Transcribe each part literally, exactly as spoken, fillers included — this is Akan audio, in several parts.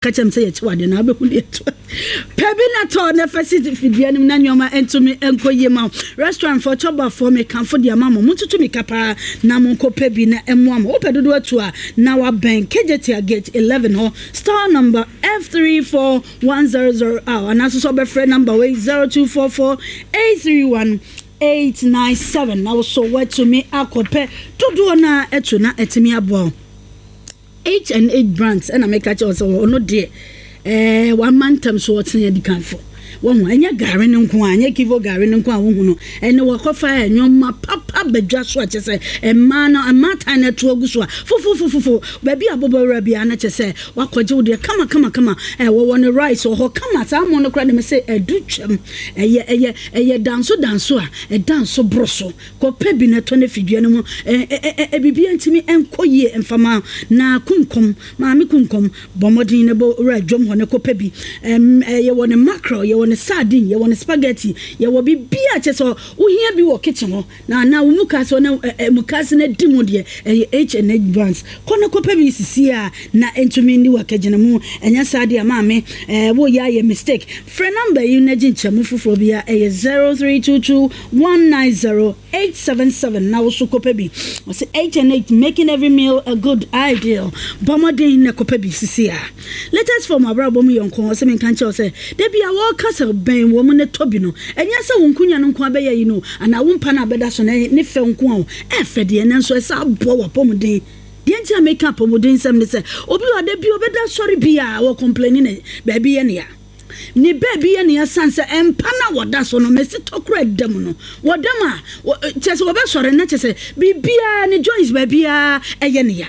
Ka kyerɛ m sɛ yɛkyew adeɛ na wobɛhu deɛ to pɛ bi na tɔ na fa si fidua no mu na nneɔma ntumi nkɔ yie ma wo. Restaurant foɔ, chɔbafoɔ, mekamfo deɛ ama mo. Montutu mika paa na monkɔpɛ bi na ɛmmoa mo. Wopɛ dodoɔ atu a, na wabɛn Kejetia Gate eleven hɔ, store number F three four one zero zero a, anaasɛ sɛ wobɛfrɛ number wei, zero two four four eight three one eight nine seven, na wo so woatumi akɔpɛ dodoɔ no a ɛto na ɛtumi aboa wo. H and H Brands ɛna meka kyerɛ wo sɛ ɔno deɛ, ɛɛ wama ntam so ɔtene adikanfo wɔn ho. Ɛnyɛ gari no nko a, ɛnyɛ Kivo gari no nko a wohu no, ɛne wɔkɔfa nneɛma papa badwa so a kyɛ sɛ mmaa no, mmaa tan no ɛto agu so a fofofofofo baabi a bɔbɔ wura biara no kyɛ sɛ wakɔgye wo deɛ kama kama kama. Ɛ wɔwɔ ne rice wɔ hɔ kama saa mo no koraa de me sɛ ɛdu twam. ɛyɛ ɛyɛ ɛyɛ danso danso a ɛdanso boro so. Kɔpɛ bi na ɛtɔ no fidua no mu. ɛ ɛ ɛ biribiara ntumi nkɔ yie mfama na kunkom maame kunkom bɔ mmɔden na bɔ wura dwom hɔ ne kɔpɛ bi. ɛm yɛwɔ ne mackerel, yɛwɔ ne sardine, yɛwɔ ne spaghetti, yɛwɔ biribiara kyɛ sɛ wohia bi wɔ kitchen hɔ na na wo mukaase hɔ na ɛ mukaase no di mu deɛ, ɛyɛ H and H Brands. Kɔ ne kɔpɛ bi sisi a na ntumi ni wɔ akagyina mu. Ɛnyɛ saa deɛ, maame, ɛɛ woyɛ ayɛ mistake. Frɛ number yi na gye nkyɛmu foforɔ bi a ɛyɛ zero three two two one nine zero eight seven seven na woso kɔpɛ bi. Ɔsɛ H and H, making every meal a good ideal. Bɔ mmɔden na kɔpɛ bi sisi a. Latest form abrabɔ mu yɛ nko. Ɔsɛ menka nkyɛw sɛ da bi a wɔka sɛ bɛn wɔ mu ne tɔ bi no, ɛnyɛ sɛ wo nkonya no nko abɛyɛ yi no anaa wo mpa no abɛda so no ne fɛ nko a ɛfɛ deɛ, nanso ɛsɛ aboa w'apɔmuden deɛ. Nti a meka apɔmuden nsɛm ne sɛ obi wɔ da bi ɔbɛda sɔre bi a wɔ complain ne baabi yɛ nea ne baabi yɛ nea san sɛ mpa no a wɔda so no mɛsi tɔkora da mu no wɔda mu a, kyerɛ sɛ wɔbɛsɔre na kyerɛ sɛ biribiara ne joints baabiara ɛyɛ ne ya.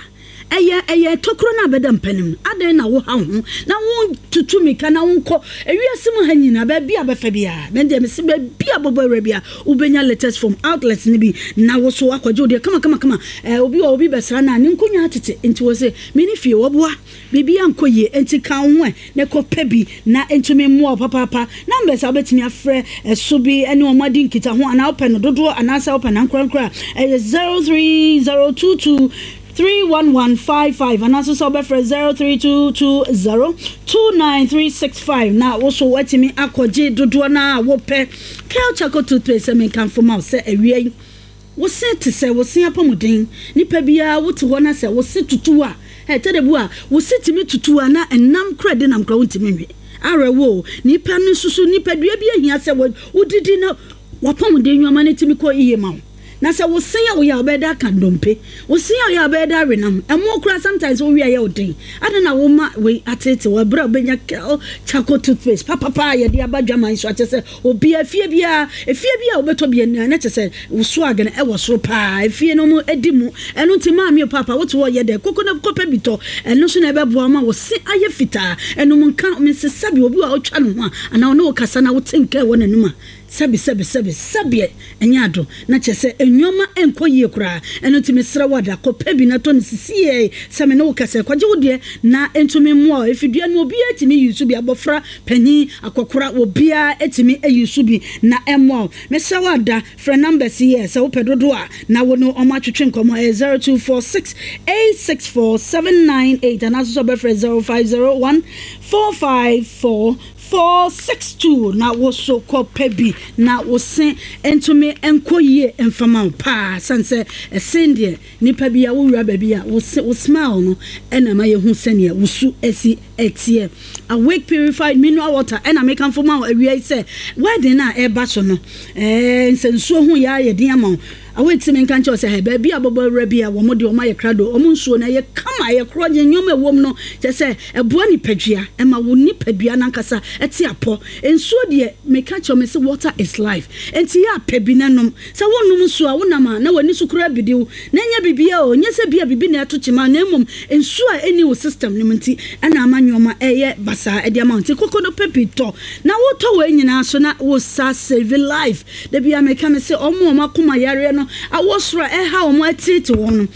ɛyɛ ɛyɛ tokuro no a bɛda mpa no mu. Adɛn na woha wo ho na wontutu mika na wonkɔ ewiase mu ha nyinaa baabi a bɛfɛ biara? Mɛndeɛ mese baabi a bɔbɔ awura bi a wobɛnya Latest Form outlets no bi na wo so akɔgye wo deɛ kama kama kama. ɛɛ obi wɔ obi bɛsra no a ne nkonnwa atete nti wɔ sɛ mene fie wɔboa biribi ankɔ yie nti ka wo ho ɛ na kɔpɛ bi na ntumi mmoa wo papaapa. Numbers a wobɛtumi afrɛ ɛso bi ne wɔn adi nkita ho anaa wopɛ no dodoɔ anaasɛ wopɛ no ankorankora a, ɛyɛ zero three zero two two three one one five five anaasɛ sɛ wobɛfrɛ zero three two two zero two nine three six five na wo so woatumi akɔgye dodoɔ no a wopɛ. Kel Charcoal toothpaste, sɛ menkamfo ma wo sɛ awia yi wo se te sɛ wo se apɔmuden. Nipa biara wote hɔ na sɛ wo se tutu a, ɛtɛ de bu a wo se tumi tutu a na ɛnam kora de nam kora wontumi nwe awerɛwo. Nipa no nso so nipadua bi ahia sɛ wodidi na wapɔmuden nneɛma no tumi kɔ yie ma wo. Na sɛ wo se a woyɛ a wobɛda aka ndompe, wo se a woyɛ a wobɛda awenam ɛmo kora, sometimes wowie a yɛ wo den. Ade na woma wei atete wɔ ɛberɛ a wobɛnya Kel Charcoal toothpaste papapa a yɛde aba dwaman so akyɛ sɛ obia efie biara, efie bi a wobɛtɔ bi ani na kyɛ sɛ wo swag no ɛwɔ soro paa. Efie no mu edi mu. Ɛno nti maame o, papa, wote hɔ yɛ dɛ koko na kɔpɛ bi tɔ. Ɛno nso na ɛbɛboa ma wo se ayɛ fitaa. Ɛnum nka mese sɛbi obi a ɔtwa ne ho a anaa ɔne wo kasa na wote nka ɛwɔ n'anum a, sɛbi sɛbi sɛbi sɛbi, ɛnyɛ ado na kyerɛ sɛ nneɛma nkɔ yie koraa. Ɛno nti mesrɛ wo ada kɔpɛ bi na tɔ no sisiɛ sɛ me ne wo kasa kɔgye wo deɛ na ntumi mmoa wo. Efidua no obiara tumi yi so bi, abɔfra, panyin, akɔkora, obiara tumi ayi so bi na ɛmmoa wo. Mesrɛ wo ada frɛ numbers yi yɛ sɛ wopɛ dodoɔ a na wo ne ɔmo atwetwe nkɔmmɔ. Ɛyɛ zero two four six eight six four seven nine eight anaasɛ sɛ ɔbɛfrɛ zero five zero one four five four four six two na wo so kɔpɛ bi na wo se ntumi nkɔ yie mfama wo paa. San sɛ ɛsen deɛ nipa bi a wowura baabi a wo se wo smile no ɛna ma yɛhu sɛneɛ wo su asi ɛteɛ. Awake Purified Mineral Water ɛna mekamfo ma wo awia yi sɛ wedding a ɛreba so no, ɛɛ nsɛnsuo ho yɛ ayɛ den ama wo. Awake sɛ menka nkyɛw sɛ hɛ baabi a bɔbɔ awura bi a wɔn de wɔn ayɛ krado, wɔn nsuo no ɛyɛ kama, ɛyɛ korɔgye. Nneɛma ɛwɔ mu no kyɛ sɛ ɛboa nipadua, ɛma wo nipadua nankasa ɛte apɔ. Nsuo deɛ, meka kyerɛ me sɛ water is life, nti yɛ apɛ bi nanom. Sɛ wonnom nsuo a wonam a na w'ani so kora bidi wo na ɛnyɛ biribiara o, nyɛ sɛ bia biribi na ɛto kyema, na mmom nsuo a ɛni wo system no mu nti ɛna ama nneɛma ɛyɛ basaa ɛde ama wo. Nti koko no pɛ bi tɔ na wotɔ wɔ nyinaa so na wo sa save life. Da bia meka me sɛ ɔmo a ɔmo akoma yareɛ no awɔ soro a ɛha ɔmo, ɛtete wɔn no,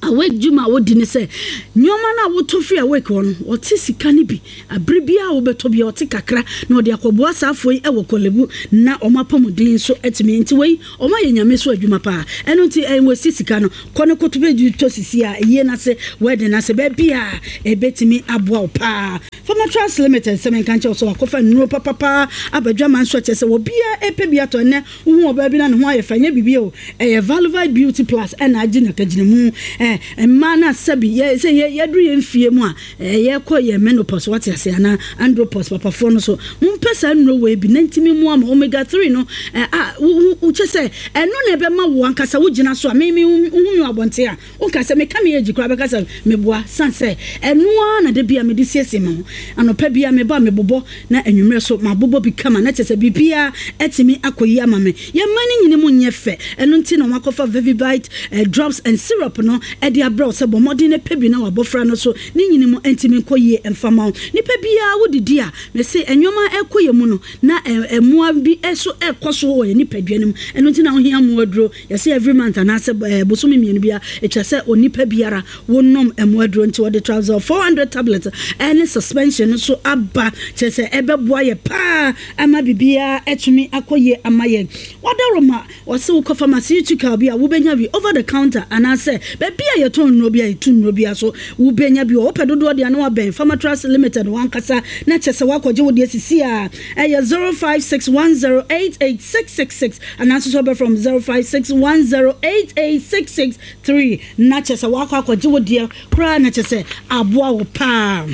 Awake dwuma a wodi ne sɛ nneɛma no a wotɔ firi Awake hɔ no, wɔte sika no bi abere biara a wobɛtɔ bi a, ɔte kakra na ɔde akɔboa saafoɔ yi wɔ Korle Bu na wɔn apɔmuden nso atumi. Nti wei wɔn ayɛ Nyame so adwuma paa. Ɛno nti ɛnwasi sika no, kɔ no kɔto bɛdi tɔ sisi a yie no ase, wedding no ase, baabi a ɛbɛtumi aboa wo paa. Pharmatrust Limited sɛ menka nkyerɛ wo sɛ wakɔfa nnuro papapaa aba dwaman so a kyerɛ sɛ obiara ɛpɛ bi atɔ. Ɛnnɛ wohu ɔbaa bi na ne ho ayɛ fɛ, nyɛ biribi o, ɛyɛ Valuvite Beauty Plus ɛna agye n'akagyinamu. Ɛ mmaa no asɛbi yɛ sɛ yɛ yɛduru yɛn fie mu a, yɛkɔ yɛ menopause, wate ase, anaa andropause, papafoɔ no so mompɛ saa nnuro wei bi na ntumi mu ama omega three no ɛ a wo wo kyɛ sɛ ɛno na ɛbɛma wo ankasa wogyina so a me me wohu mi wɔ abɔnten a wonka sɛ meka me age koraa, bɛka sɛ meboa san sɛ ɛno ara na de bia mede siesie me ho. Anɔpa bia meba mebobɔ na anwummerɛ so mabobɔ bi kama na kyɛ sɛ biribiara atumi akɔ yi ama me. Yɛmma no nyini mu nyɛ fɛ. Ɛno nti na wɔakɔfa Vevivite eh, drops and syrup no ɛde abrɛ wo sɛ bɔ mmɔden no pɛ bi na wabɔfra no so ne nyini mu ntumi nkɔ yie mfama wo. Nipa biara wodidi a, mese nneɛma ɛkɔ yɛ mu no na mmoa bi nso ɛkɔ so wɔ yɛ nipadua no mu. Ɛno nti na wohia mmoa duro. Yɛsɛ every month anaasɛ bosome mmienu biara ɛtwa sɛ onipa biara wonom mmoa duro. Nti wɔde Travel four hundred tablet ɛne suspension no so aba, kyerɛ sɛ ɛbɛboa yɛ paa ama biribiara ɛtumi akɔ yie ama yɛn. Wadaroma wɔsɛ wokɔ pharmaceutical bi a, wobɛnya bi over the counter anaasɛ baabi a yɛtɔn nnuro bi a yɛtu nnuro bi a so wobɛnya bi wɔ. Wopɛ dodoɔ deɛ na wabɛn Pharmatrust Limited wankasa na kyɛ sɛ woakɔgye wo deɛ sisi a ɛyɛ zero five six one zero eight eight six six six anaasɛ sɛ wobɛfrɛ zero five six one zero eight eight six six three na kyɛ sɛ woakɔ akɔgye wo deɛ koraa na kyɛ sɛ aboa wo paa.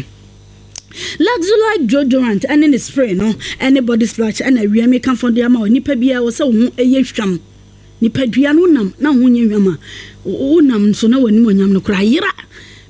Luxolite deodorant ɛne ne spray no ɛne body splash ɛna awia mi kamfo de ama wɔ. Nipa biara wɔ sɛ wo ho ɛyɛ hwam. Nipadua no nam na wo ho nyɛ hwam a, wonam nso na w'anim onyam no koraa yera.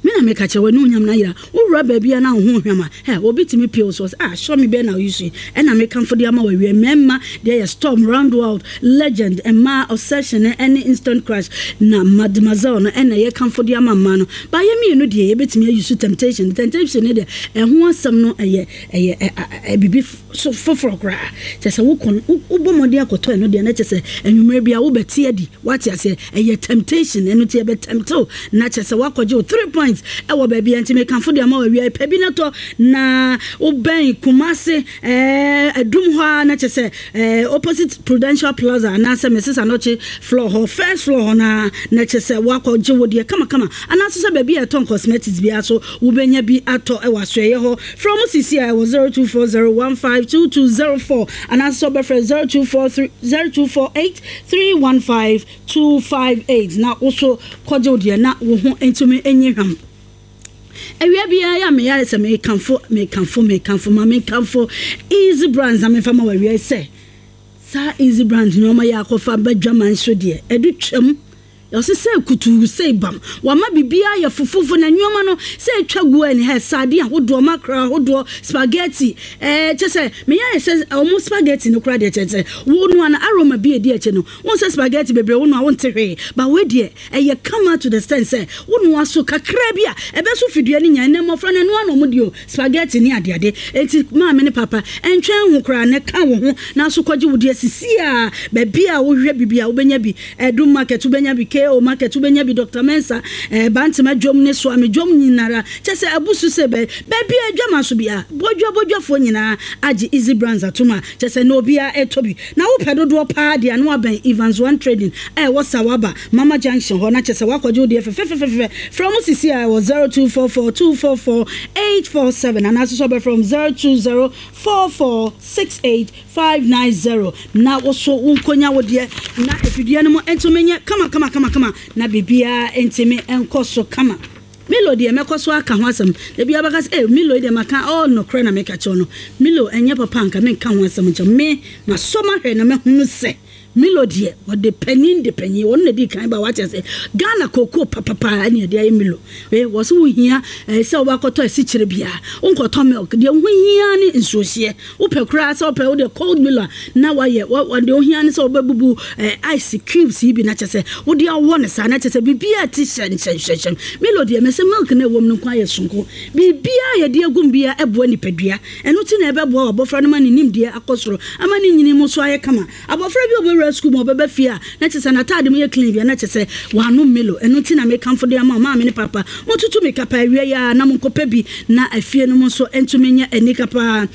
Me na meka kyerɛ, w'anim onyam no ayera. Wowura baabi a na wo ho hwam a, ɛ obi tumi pie wo so sɛ, "Ah, sɔ me bɛɛ na oyi so yi." Ɛna mekamfo de ama wɔ awia. Mmarima deɛ yɛ Storm, Round World, Legend, mmaa Obsession ɛne Instant Crush, na Mademoiselle no ɛna yɛkamfo de ama mmaa no. Baayɛ mmienu deɛ yɛbɛtumi ayi so Temptation. Temptation ne deɛ ɛho asɛm no ɛyɛ ɛyɛ ɛ biribi so foforɔ koraa, kyɛ sɛ wokɔ wobɔ mmɔden akɔtɔ ɛno deɛ na kyɛ sɛ anwummerɛ bi a wobɛte adi, wate aseɛ. Ɛyɛ temptation, ɛno nti ɛbɛtempt na kyɛ sɛ woakɔgye wo three points ɛwɔ baabi a. Nti mekamfo de ama wɔ awia. Pɛ bi no tɔ na wobɛn Kumase ɛɛ Adum hɔ a na kyɛ sɛ ɛɛ opposite Prudential Plaza anaasɛ Missus Anɔkye floor hɔ, first floor hɔ na na kyɛ sɛ woakɔgye wo deɛ kamakama, anaasɛ sɛ baabi a ɛtɔn cosmetics biara so wobɛnya bi atɔ ɛwɔ asoɛyɛ hɔ. Frɛ mo sisi a ɛwɔ zero two four zero one five two two zero four anaasɛ sɛ wobɛfrɛ zero two four three zero two four eight three one five two five eight na wo so kɔgye wo deɛ na wo ho ntumi nyɛ hwam. Awia biara yɛ a meyɛ sɛ mekamfo mekamfo mekamfo ma mekamfo Easy Brands na memfa ma wɔ awia sɛ saa Easy Brands nneɛma yɛ akɔfa badwaman so deɛ ɛde twam. Ɔsɛ sɛ kutuu sɛ bam wama biribiara yɛ fofofo na nneɛma no sɛ atwa gu ani ha, sardine ahodoɔ, mackerel ahodoɔ, spaghetti, ɛɛ kyɛ sɛ meyɛ ayɛ sɛ ɔmo spaghetti no koraa deɛ, kyɛ sɛ wo noa no aroma bi edi akyi no wɔn sɛ spaghetti bebree wo noa wɔn te hwee ba. Wei deɛ ɛyɛ kama to the extent sɛ wo noa so kakra bi a ɛbɛ so fidua no nya. Ɛnɛ mmɔfra no ɛnoa na ɔmo di o, spaghetti ne adeade. Eti maame ne papa ɛntwɛn ho koraa na ɛka wo ho na so kɔgye wo deɛ sisi a baabi a wohwɛ bibi a wobɛnya bi, Ɛdum Market wobɛnya bi, K O Market wobɛnya bi, Doctor Mensa, ɛɛ Bantama dwom ne Soame dwom nyinara, kyɛ sɛ abusu sɛ bɛ baabi a adwama so bi a bodwa bodwafoɔ nyinaa agye Easy Brands atom a kyɛ sɛ na obiara ɛtɔ bi. Na wopɛ dodoɔ paa deɛ ano abɛn Evans One Trading a ɛwɔ Sawaba Mama Junction hɔ na kyɛ sɛ woakɔgye wo deɛ fɛfɛfɛfɛ. Frɛ mo sisi a ɛwɔ zero two four four two four four eight four seven anaasɛ sɛ wobɛfrɛ m zero two zero four four six eight five nine zero na woso wo nkonya wo deɛ na afidie no mu ntumi nyɛ kama kama kama kama na biribiara ntumi nkɔ so kama. Milo deɛ mɛkɔ so aka ho asɛm ebi abɛka sɛ eh Milo deɛ maka ɔ nokorɛ na meka kyerɛ no. Milo ɛnyɛ papa nka menka ho asɛm nkyɛn. Me masɔ mahwɛ na mahunu sɛ Milo deɛ wɔde panyin de panyin wɔn na di kan ba wakyɛ sɛ Ghana kookoo papapa ɛne yɛde ayɛ Milo. Ee wɔ so wohia ɛɛ sɛ wɔbɛkɔtɔ asikyire bia, wonkɔtɔ milk deɛ ho hia ne nsuohyeɛ. Wopɛ koraa sɛ wopɛ wode cold Milo a na wayɛ deɛ ohia ne sɛ wobɛbubu ɛɛ ice cubes yi bi na kyɛ sɛ wode awɔ ne saa na kyɛ sɛ biribiara ti hyɛ nhyɛnhyɛnhyɛn. Milo deɛ mɛsɛ milk na ɛwɔ mu no nko ayɛ sonko. Biribiara yɛde agum biara ɛboa nipadua. Ɛno ti na ɛbɛboa wɔ abɔfra no ma ne nimdeɛ akɔ soro ama ne nyini mu so ayɛ kama. Abɔfra bi a ɔbɛwura wura school mu ɔbɛba fie a na kyerɛ sɛ n'ataade mu yɛ clean bia na kyerɛ sɛ wanom Milo. Ɛno nti na mekamfo de ama wo, maame ne papa, motutu mmirika paa awia yi ara na monkɔpɛ bi na afie no mu nso ntumi nyɛ anika paa.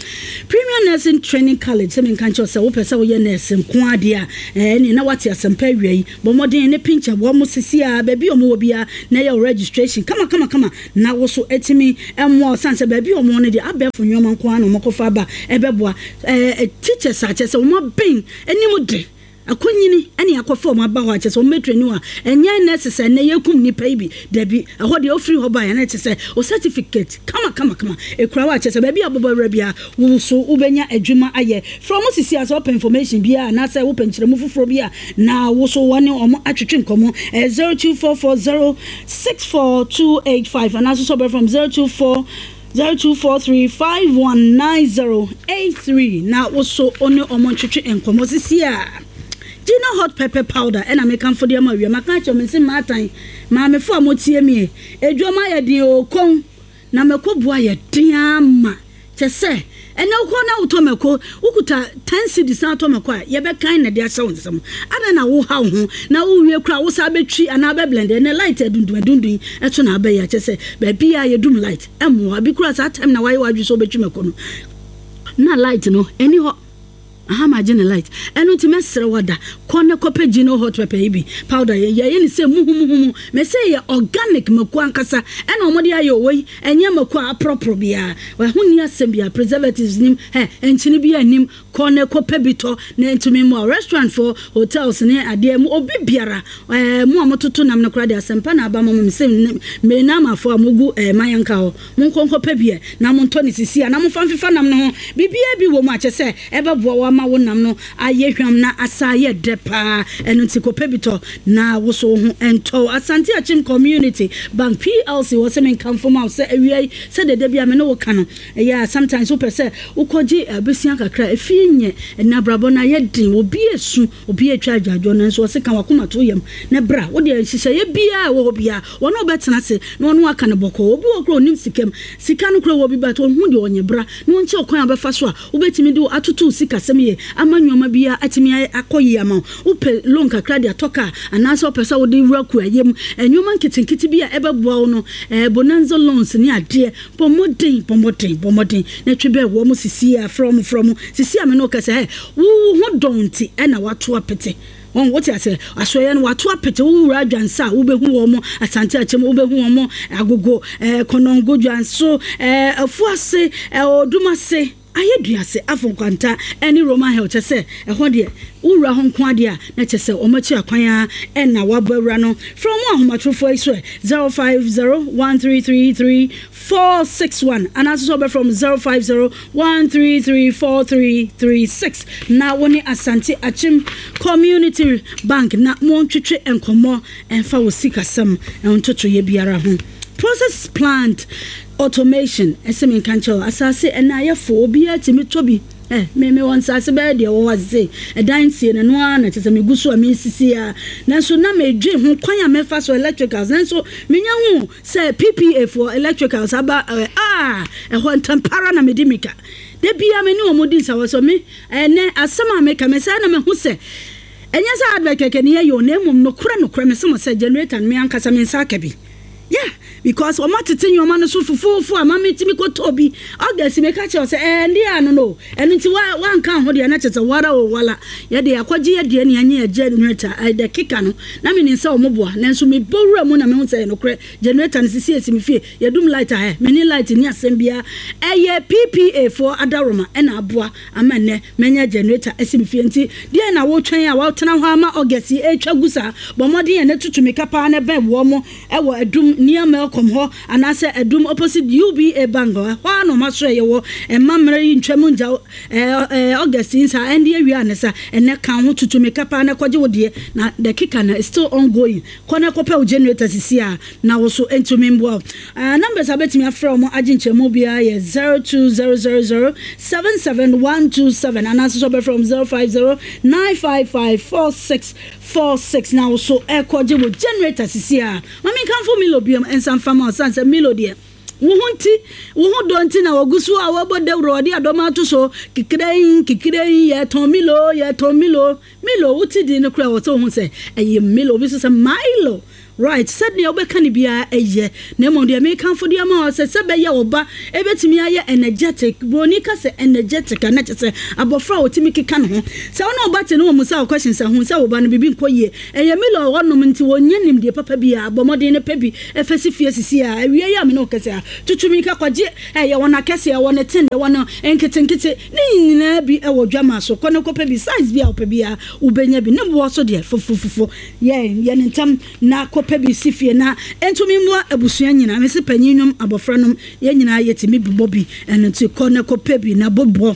Premier Nursing Training College, sɛ menka nkyerɛ wo sɛ wopɛ sɛ woyɛ nurse nko ara deɛ a, ɛɛ na woate asɛmpa awia yi. Bɔ mmɔden ne pinkyɛ wɔn sisi ara, baabi a wɔwɔ biara, na yɛ wo registration kama kama kama na wo so atumi mmoa wo, sane sɛ baabi a wɔwɔ no deɛ abɛɛfo nneɛma nko ara na wɔkɔfa aba ɛbɛboa ɛɛ teachers a kyerɛ sɛ wɔn abɛn anim de akɔnyini ɛne akɔfa wɔn aba hɔ a kyerɛ sɛ wɔn bɛtrain wo a, ɛnyɛ nurses a ɛnnɛ yɛkum nnipa yi bi, dabi, ɛhɔ deɛ wofiri hɔ baeɛ na kyerɛ sɛ wo certificate kama kama kama ɛkura wo a kyerɛ sɛ baabi a wobɛbɔ awura biara wo so wobɛnya adwuma ayɛ. Frɛ wɔn sisi a sɛ wopɛ information biara anaasɛ wopɛ nkyerɛmu foforɔ bi a na wo so wɔne wɔn atwetwe nkɔmmɔ. Ɛyɛ zero two four four zero six four two eight five anaasɛ sɛ wobɛfrɛ wɔn zero two four zero two four three five one nine zero eight three na wo so wo ne wɔn ntwetwe nkɔmmɔ sisi a. Gino hot pepper powder ɛna mekamfo de ama awia. Maka akyerɛ mo se mmaatan, maamefo a motie me, adwuma ayɛ den o, kɔn na mako boa yɛ den ama. Kyɛ sɛ ɛnɛ wokɔ na wotɔ mako, wokuta ten cedis na atɔ mako a, yɛbɛkan na de ahyɛ wo nsam. Adɛn na woha wo ho na wowie koraa wo saa bɛtwi anaa bɛblend? Ɛnɛ light adundun adundun ɛto na abɛyɛ kyɛ sɛ baabi a yɛdum light ɛmmoa bi koraa. Saa time na wayɛ w'adwene sɛ wobɛtwi mako no na light no ɛni hɔ aha ma gye ne light. Ɛno nti mɛsrɛ wada kɔ ne kɔpɛ Gino hot pepper yi bi powder. Yɛ yɛyɛ ne sɛ muhumuhumu mɛsɛ yɛ organic mako ankasa ɛna ɔmɔde ayɛ ɔwɔ yi, ɛnyɛ mako a aprɔprɔ biara, ɛho ni asɛm biara, preservatives nim ɛ nkyene bi anim. Kɔ ne kɔpɛ bi tɔ na ntumi mu a restaurant for hotels ne adeɛ mu obi biara ɛɛ mu a mototo nam no koraa de asɛmpa na aba mo mo sɛ mmenamafo a mogu ɛɛ mayanka hɔ, monkɔ nkɔpɛ bi ɛ na montɔ ne sisi a na momfa mfefa nam no ho. Biribiara bi wɔ mu a kyɛ sɛ ɛbɛboa wo ama wo nam no ayɛ hwam na asa ayɛ dɛ paa. Ɛno nti kɔpɛ bi tɔ na wo so wo ho ɛntɔ. Asante Akyem Community Bank P L C wɔ sɛ menkamfo ma wo sɛ awia yi sɛ deda bi a me ne wo ka no ɛyɛ a sometimes wopɛ sɛ wokɔgye abɛsia kakra, efie nyɛ ɛna abrabɔ no ayɛ den, obi esu, obi atwa adwadwo no nso ɔse ka wakoma to yam na bra wode nhyehyɛeɛ biara ɛwɔ hɔ biara wɔne wobɛtena ase na wɔne waka no bɔkɔɔ. Obi wɔ kora onim sikam sika no kora wɔ bi but ɔhu deɛ ɔnyɛ bra na wɔnkyɛ ɔkwan a wobɛfa so a wobɛtumi de atoto sikasɛm yie ama nneɛma biara atumi akɔ yie ama wo. Wopɛ loan kakra de atɔ kaa anaasɛ wopɛ sɛ wode wura kuayɛ mu, nneɛma nketenkete bi a ɛbɛboa wo no, ɛɛ bonanza loans ne adeɛ, bɔ mmɔden, bɔ mmɔden, bɔ mmɔden na twe bɛɛ wɔ mo sisi a frɛ mo frɛ mo sisi a me ne wo kasa ɛ wo ho dɔn nti ɛna wato apete wɔn wote ase asoɛyɛ no wato apete. Wowura Adwansa a wobɛhu wɔn mo Asante Akyɛm, wobɛhu wɔn mo Agogo, ɛɛ Kɔnɔngo, Dwanso, ɛɛ Afuase, ɛɛ Odumase, ayɛ duase afɔ nkwanta ɛne Roman Hill. Kyɛ sɛ ɛhɔ deɛ wowura hɔ nko adeɛ a na kyɛ sɛ wɔn akyi akwan a ɛna wabɔ awura no. Frɛ wɔn ahomatorofoɔ yi so ɛ zero five zero one three three three four six one anaasɛ sɛ wɔbɛfrɛ wɔn zero five zero one three three four three three six na wɔne Asante Akyem Community Bank na wɔntwetwe nkɔmmɔ ɛmfa wɔ sikasɛm ntotoyɛ biara ho. Process plant automation ɛsɛ mi nka nkyɛw asase ɛna ayɛfo obiara tumi tɔ bi ɛ me me wɔ nsase bɛyɛ deɛ wɔ hɔ ase ɛdan sie na no ara na kyerɛ sɛ megu so a mesisi a, nanso na medwe ho kwan a mɛfa so electricals, nanso menya hu sɛ P P A for electricals aba ɛ a ɛhɔ ntampara na mede mika da bia me ne wɔn di nsawɔ so me ɛnɛ asɛm a meka me sɛ na mehu sɛ ɛnyɛ sɛ advert kɛkɛ ne yɛyɛ o, na mmom nokorɛ nokorɛ me sɛ mo sɛ generator no me ankasa me nsa aka bi, yeah, because ɔmo atete nneɛma no so fufuufu a maame timi kɔtɔ bi August. Meka kyerɛ sɛ ɛɛ ndi ano no ɛno nti wa wanka ho deɛ na kyerɛ sɛ wara o wala yɛde akɔgye yɛ deɛ ne yɛnyɛ yɛ generator ɛdɛ keka no na menim sɛ ɔmo boa, nanso mebɔ wura mu na mehu sɛ ɛyɛ nokorɛ. Generator no sisi esi me fie, yɛdum light a ɛ mene light ni asɛm biara. Ɛyɛ P P A foɔ adaroma ɛna aboa ama nnɛ mɛnya generator ɛsi me fie. Nti deɛ na wotwɛn a wɔtena hɔ ama August yi etwa gu saa? Bɔ mmɔden yɛ ne tutu mika paa na bɛn wɔ mo ɛwɔ Adum near Melcom hɔ anaasɛ Adum opposite U B A Bank hɔ a na ɔmo aso ɛyɛ wɔ ɛma mmerɛ yi ntwam ngya ɛɛ ɛɛ August yi nsa ɛnde awia ne sa ɛnɛ kan ho tutu mika paa na kɔgye wo deɛ na the kika na is still ongoing. Kɔ na kɔpɛ wo generator sisi a na wo so ntumi mboa wo. uh, numbers a bɛtumi afrɛ wɔn agye nkyɛmu biara yɛ zero two zero zero zero seven seven one two seven anaasɛ sɛ ɔbɛfrɛ wɔn zero five zero nine five five four six four six na wo so ɛkɔgye wo generator sisi a. Maame nkanfo Milo biom nsa mfa ma ɔsan sɛ Milo deɛ Wo ho nti, wo ho dɔ nti na wɔgu so a wɔbɔ dawuro, wɔde adɔm ato so kikirɛn kikirɛn. Yɛtɔn Milo, yɛtɔn Milo. Milo, wote din no koraa wɔ sɛ wohu sɛ ɛyɛ Milo. Obi nso sɛ Milo, right? Sɛdeɛ wobɛka no biara ɛyɛ, na mmom deɛ mekamfo deɛ ma wɔ sɛ sɛ bɛyɛ wo ba ɛbɛtumi ayɛ energetic. Buroni ka sɛ energetic a, na kyerɛ sɛ abɔfra a wɔtumi keka ne ho. Sɛ wo ne wo ba te ne wɔ mu sɛ wo questions a, hu sɛ wo ba no biribi nkɔ yie. Ɛyɛ Milo a wɔnom nti wɔnyɛ nimdeɛ papa bi a. Bɔ mmɔden no pɛ bi ɛfɛ si fie sisi a awie yi a me ne wo kɛsɛ a, tutumi ka kɔgye. Ɛyɛ wɔn akɛseɛ, wɔn ne ten, wɔn nketenkete ne nyinaa bi ɛwɔ dwama so. Kɔ ne kɔpɛ bi, size bi a wopɛ bi a wobɛnya bi. Ne boɔ so deɛ fofofofo. Yɛ yɛ ne ntam na kɔpɛ bi si fie na ntumi mmoa abusua nyinaa. Mesi panyin nom, abɔfra nom, yɛn nyinaa yɛtumi bobɔ bi. Ɛno nti kɔ ne kɔpɛ bi na bobɔ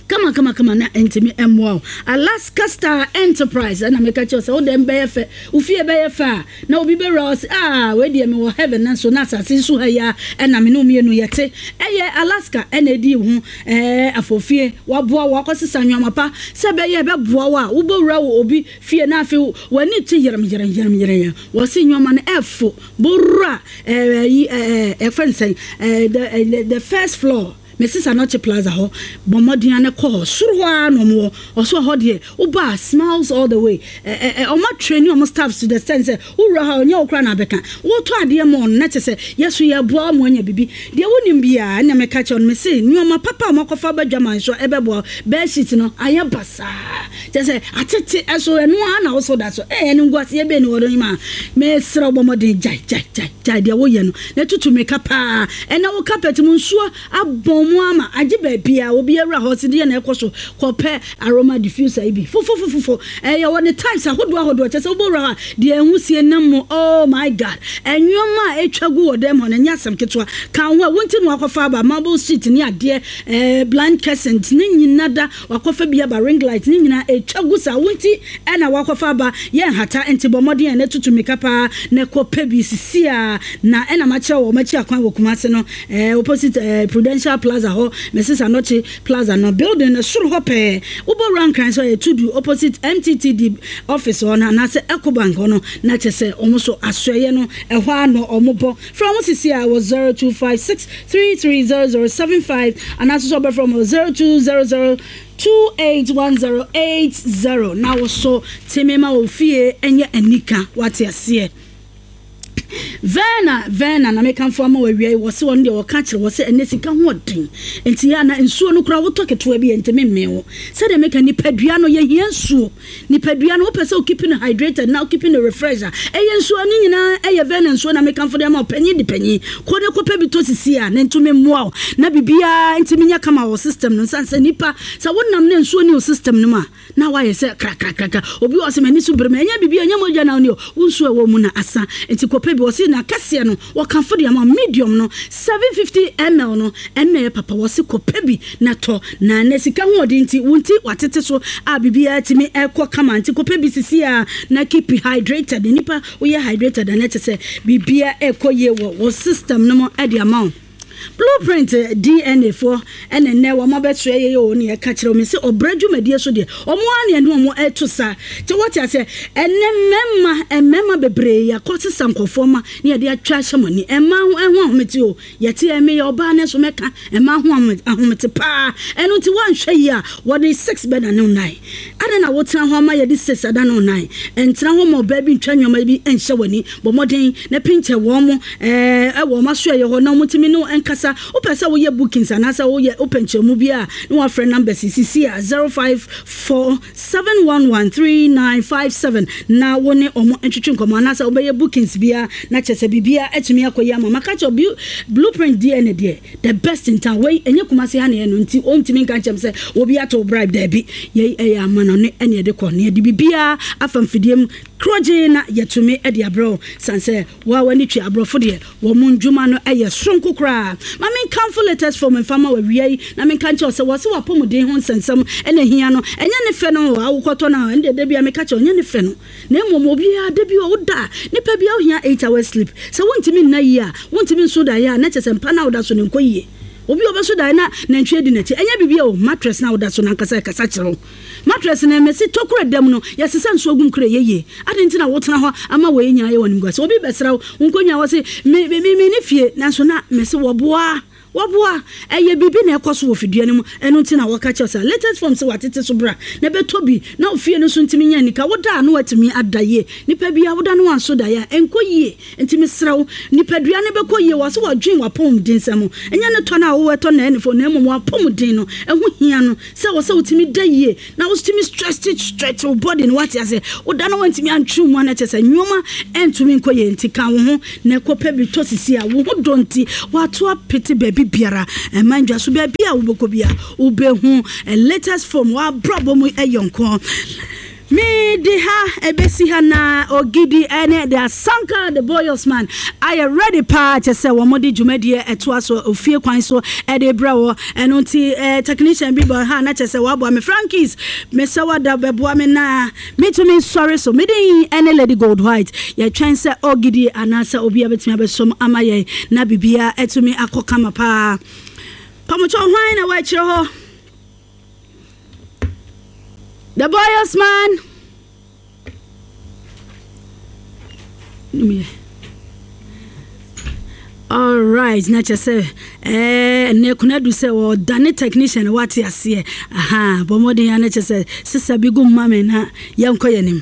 kama kama kama na ntumi mmoa wo. Alaska Star Enterprise ɛna meka kyerɛ sɛ wo dɛm bɛyɛ fɛ, wo fie bɛyɛ fɛ a na obi bɛwura hɔ sɛ, "Ah, wei deɛ mewɔ heaven." Nanso na asase so ha yi a ɛna me ne wo mmienu yɛte. Ɛyɛ Alaska ɛna ɛdi ho ɛɛ afɔfie waboa wo akɔsesa nneɛma pa sɛ bɛyɛ ɛbɛboa wo a wobɛwura wɔ obi fie na afei w'ani te yerem yerem yerem yerem. Wɔsi nneɛma no ɛfo bowura ɛɛ yi ɛɛ ɛfɛ nsɛn ɛɛ the the first floor, Mrs Anɔkye Plaza hɔ. Bɔ mmɔden ne kɔ hɔ soro hɔ ara na ɔmo wɔ. Ɔso hɔ deɛ woba, smiles all the way. ɛ ɛ ɔmo atrain ɔmo staffs to the extent sɛ wowura ha, ɔnyɛ wo koraa na abɛka wotɔ adeɛ ma ɔno na kyɛ sɛ yɛso yɛboa ɔmo anya bibi deɛ wonim biara. Ɛna mɛka kyerɛ no, mese nneɛma papa a ɔmo akɔfa badwa ma nso ɛbɛboa. Bedsheet no ayɛ basaa, kyɛ sɛ atete ɛso, ɛno ara na wosɔ da so. Ɛyɛ no nguaseɛ bɛɛ ni wɔ do ma mesrɛ wo, bɔ mmɔden gyae gyae gyae gyae deɛ woyɛ no na tutu mmirika paa. Ɛna wo carpet mu nsuo abɔn mu ama agye baabi a obi awura hɔ si deɛ na ɛkɔ so. Kɔpɛ aroma diffuser yi bi fofofofofo. Ɛyɛ wɔ ne types ahodoɔ ahodoɔ, kyɛ sɛ wobɛwura hɔ a deɛ ɛho sie nam mu. Oh my God, ɛnneɛma a ɛtwa gu wɔ dɛm hɔ no ɛnyɛ asɛm ketewa. Ka ho a wonti na wakɔfa aba marble sheet ne adeɛ, ɛɛ blind curtains ne nyina da wakɔfa bi aba, ring light ne nyinaa ɛtwa gu saa. Wonti ɛna wakɔfa aba yɛn hata nti bɔ mmɔden a na tutu mmirika paa na ɛkɔpɛ bi sisi a na ɛna makyerɛ wɔ makyi akwan wɔ Kumase no, ɛɛ opposite ɛɛ Prudential Plaza hɔ, Mrs Anɔkye Plaza no building no soro hɔ pɛɛ. Wobɔwura Nkran sɛ ɔyɛ Tudu, opposite M T T D office hɔ no anaasɛ Ecobank hɔ no, na kyerɛ sɛ ɔmo so asoɛyɛ no ɛhɔ ano. Ɔmo bɔ frɛ ɔmo sisi a wɔ zero two five six three three zero zero seven five anaasɛ sɛ ɔbɛfrɛ ɔmo zero two zero zero two eight one zero eight zero. Na wo so tèmi ma wɔ fie ɛnyɛ anika, wate aseɛ? Verna, Verna na mekamfo ama wawia yi. Wɔ se wɔn deɛ wɔka kyerɛ wɔ sɛ ɛnɛ sika ho ɔden nti yɛ ana nsuo no koraa wotɔ ketewa bi yɛ ntumi mmee wo. Sɛdeɛ meka, nipadua no yɛhia nsuo. Nipadua no, wopɛ sɛ wokeep no hydrated na wokeep no refresh a, ɛyɛ nsuo no nyinaa. Ɛyɛ Verna nsuo na mekamfo de ama wo. Panyin de panyin kɔ ne kɔpɛ bi tɔ sisi a na ntumi mmoa wo na biribiara ntumi nyɛ kama wɔ system no. Nsan sɛ nipa sɛ wonam ne nsuo ne wo system no mu a, na wayɛ sɛ krakrakrakra. Obi wɔ sɛ m'ani so bere ma ɛnyɛ biribi, ɛnyɛ mogya na wo ne o, wo nsuo a ɛwɔ mu na asa. Nti kɔpɛ bi. Wɔse na kɛseɛ no wɔkamfo de ama, medium no seven fifty milliliters no ɛnna yɛ papa. Wɔse kɔpɛ bi na tɔ na na sika ho ɔde nti wo nti watete so a biribiara tumi ɛkɔ kama. Nti kɔpɛ bi sisi a na keep hydrated. Nipa woyɛ hydrated a, na kyɛ sɛ biribiara ɛkɔ yie wɔ wɔ system no mu ɛde ama wo. Blueprint D N A foɔ ɛna nnɛ wɔn abɛsoɛ yɛ yɛ wɔn ne yɛka kyerɛ wɔn sɛ ɔbrɛ dwumadie so deɛ wɔn ara ne ɛne wɔn ɛto sa kyɛ. Wɔte aseɛ? Ɛnɛ mmarima mmarima bebree yɛakɔ sesa nkɔfoɔ ma ne yɛde atwa ahyɛ mo ani. Mmaa ho ɛho ahomete o, yɛte ɛmɛ yɛ ɔbaa ne so mɛka mmaa ho ahomete paa. Ɛno nti wɔanhwɛ yi a wɔde six bɛ na ne nan ada na wotena hɔ ama yɛde six ada ne nan. Ɛntena hɔ ma ɔbaa bi ntwa nneɛma bi nhyɛ w'ani. Bɔ mmɔden na pinkyɛ wɔn mo ɛɛ ɛwɔ wɔn aso ɛyɛ hɔ na wɔn tumi ne nkasa. Wopɛ sɛ woyɛ bookings anaasɛ woyɛ wopɛ nkyɛnmu bi a, na wafrɛ numbers sisi a zero five four seven one one three nine five seven na wo ne ɔmo ntwitwi nkɔmɔ anaasɛ wobɛyɛ bookings bia na kyerɛ sɛ biribia atumi akɔ yi ama. Maka kyerɛ, Blueprint D N A deɛ, the best in town. Wei ɛnyɛ Kumase ha ne yɛ no nti ɔntumi nka nkyɛm sɛ obi ato bribe. Daabi, yɛi ɛyɛ ama no ne ɛne yɛde kɔ ne yɛde biribiaa afa mfidie mu korɔgye na yɛtumi de abrɛ wo san sɛ woa w'ani twe aborɔfo deɛ wɔ mo ndwuma no ɛyɛ soronko koraa. Ma menkamfo Latest Form mfa ma wawia yi na menka nkyɛw sɛ wɔ se wapɔmuden ho nsɛnsɛm ɛna hia no. Ɛnyɛ ne fɛ no awokɔtɔ no a ɛnde da bia meka kyɛw, ɛnyɛ ne fɛ no, na mmom obiara da bi a woda nipa bia wohia eight hours sleep. Sɛ wontumi nna yie a, wontumi nso da yɛ a, na kyɛ sɛ mpa no a woda so no nkɔ yie. Obi a ɔbɛso daeɛ na nantwie di n'akyi, ɛnyɛ biribi o. Mattress na woda so no ankasa ɛkasa kyerɛ wo. Mattress no ɛmɛsi tokuro da mu no, yɛsesa nsuo gum kura ɛyɛ yie. Adɛn nti na wotena hɔ ama wei nyinaa yɛ wɔ animguase? Obi bɛsra wo, wo nkonnwa wɔ se me me me ne fie, nanso na mese wɔboa. Wɔboa. Ɛyɛ biribi na ɛkɔ so wɔ fidua no mu, ɛno nti na wɔka kyerɛ sɛ latest form sɛ watete so bra na ɛbɛtɔ bi na ofie no so ntumi nya nika. Woda a na watumi ada yie. Nipa bia woda no wanso da yɛ a ɛnkɔ yie. Nti mesrɛ wo, nipadua no bɛkɔ yie wɔ sɛ wɔdwen w'apɔmuden sɛm. Ɛnyɛ ne tɔ no a wowɔ ɛtɔ na ɛnefo, na mmom w'apɔmuden no ɛho hia no sɛ wɔ sɛ wotumi da yie na wotumi stretch stretch wo body no, wate ase. Woda no wantumi antwe mu a, na kyerɛ sɛ nneɛma ɛntumi nkɔ yie. Nti ka wo ho na ɛkɔpɛ bi tɔ sisi a wo ho dɔ nti wato apete baabi biara ɛma ndwa so. Baabi a wobɛkɔ bia wobɛhu latest form wabrabɔ mu ɛyɛ nko. Mede ha ɛbɛsi ha na Ogidi ɛne the Asanka the Boyos man ayɛ ready paa, kyɛ sɛ wɔn de dwumadie ɛtoa so ofie kwan so ɛde brɛ wɔ. Ɛno nti ɛɛ technician bi bɔ ha na kyɛ sɛ waboa me. Frankis mesɛ wada bɛboa me na metumi nsɔre so. Mede ɛne Lady Gold White yɛtwɛn sɛ Ogidi anaasɛ obi a bɛtumi abɛsom ama yɛn na biribiara ɛtumi akɔ kama paa. Pamotɔ hwan na wɔakyerɛ hɔ? The Boyos man. Yeah. All right, na kyerɛ sɛ ɛɛ nnɛ kuna du sɛ wɔdane technician, wate aseɛ. Aha, bɔ mmɔden ya na kyerɛ sɛ sisa bi gu mma me na yɛnkɔ yɛn anim.